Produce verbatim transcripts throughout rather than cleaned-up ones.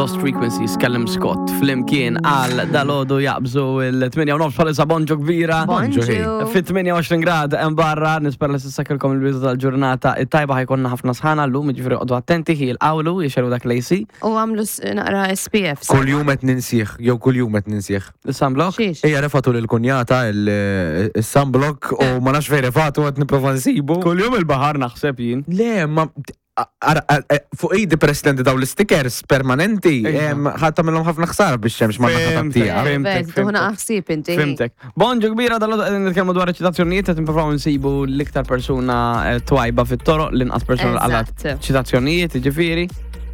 Lost Frequencies, Callum Scott, flimkien għal dalgħodu jaqbżu il-tmienja u nofs bħalissa. Bonġu kbira. Bonġu. Fit tmienja u għoxrin grad hemm barra, nispera li s'issa kellkom il-bidu tal-ġurnata it-tajba. Ħa jkollna ħafna sħana llum, jiġifieri oqogħdu attenti, ħi l-qawlu jixelu dak l-A C. U għamlu s- naqra S P F. Kull jum qed ninsih, jew kull jum qed ninsih. Il-sunblock? Xiex? Ejja, refatu l-kunjata il-sunblock u ma nafx fejn refatu, qed nipprova nsibu. Kull jum il-baħar naħseb jien. Le, ma ara- ara- fuq idi presidenti daw l-stickers permanenti, Iva. em, ħadd tagħmilhom ħafna ħsara biex xemx ma Fhimtek, naħa. Fhimtek, Vet, tuħna fhimtek. ħsieb inti. Fhimtek. Bonġu kbira, dalgħodu qegħdin nitkellmu dwar ċitazzjonijiet, qed nippruvaw nsibu l-iktar persuna eh, twajba fit-toroq, l-inqas persuna għalat Eżatt. ċitazzjonijiet, ġifieri.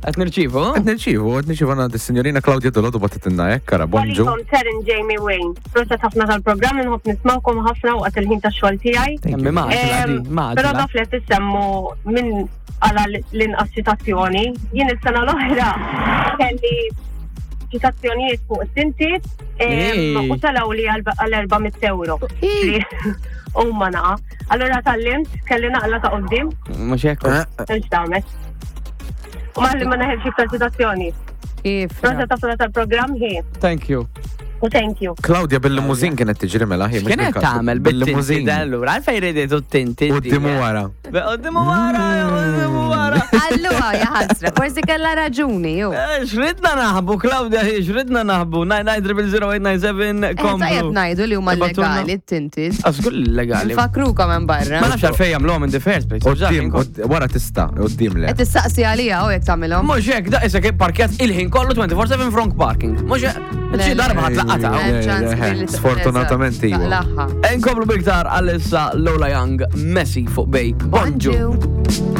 Qed nirċivu? Qed nirċivu, qed nirċivu għandna s-signorina Claudia dalgħodu bagħtitilna hekk, kara, bonġu. Għalikom Taryn, Jamie, Wayne. Proset ħafna tal-programm, nħobb nismawkom ħafna waqt il-ħin ta' xogħol tiegħi. Emmi maġla, Em, di, maġla. Però taf li qed tissemmu minn għala l-inqas ċitazzjoni. Jien is-sena l-oħra kelli ċitazzjonijiet fuq it-tinted em, Ej. u talaw li għal erba' mitt euro. Ej. U ma naqa. Allora tgħallimt, kelli naqla ta' qoddim, Mhux hekk. hemmx damet. U ma li ma neħelx iktar ċitazzjoni. Kif? Proset ħafna tal-programm hi. Thank you. U thank you. Claudia bil-limuzin kienet tiġri mela, hi. Mhux Kienet bil-kartu, tagħmel bil-tinted bil-limuzin. allura, għalfejn riditu t-tinted? Quddiem u wara. Quddiem u wara, quddiem u wara. Allura, jaħasra, forsi kella raġuni, ju. Eh, Xridna naħbu, Claudia, hi, xridna naħbu. nine nine zero zero eight nine seven Eh, Tajjeb komplu. ngħidu li huma Ibatulna. legali t-tinted. Għażgur legali. Fakrukom hemm barra. Ma nafx għalfejn jagħmluhom in the first place. Quddiem, qudd- wara tista', quddiem le. Qed tistaqsi għalija u jekk tagħmilhom. Mhux hekk, da isek parkjat il-ħin kollu twenty-four seven front parking. Mhux hekk, xi darba ħadd laqata. Le, Hemm ċans le, kbir li sfortunatament eżatt, iva. taqlaħħa. Inkomplu biktar għalissa Lola Young, Messi fuq Bay. Bonġu. Bonġu.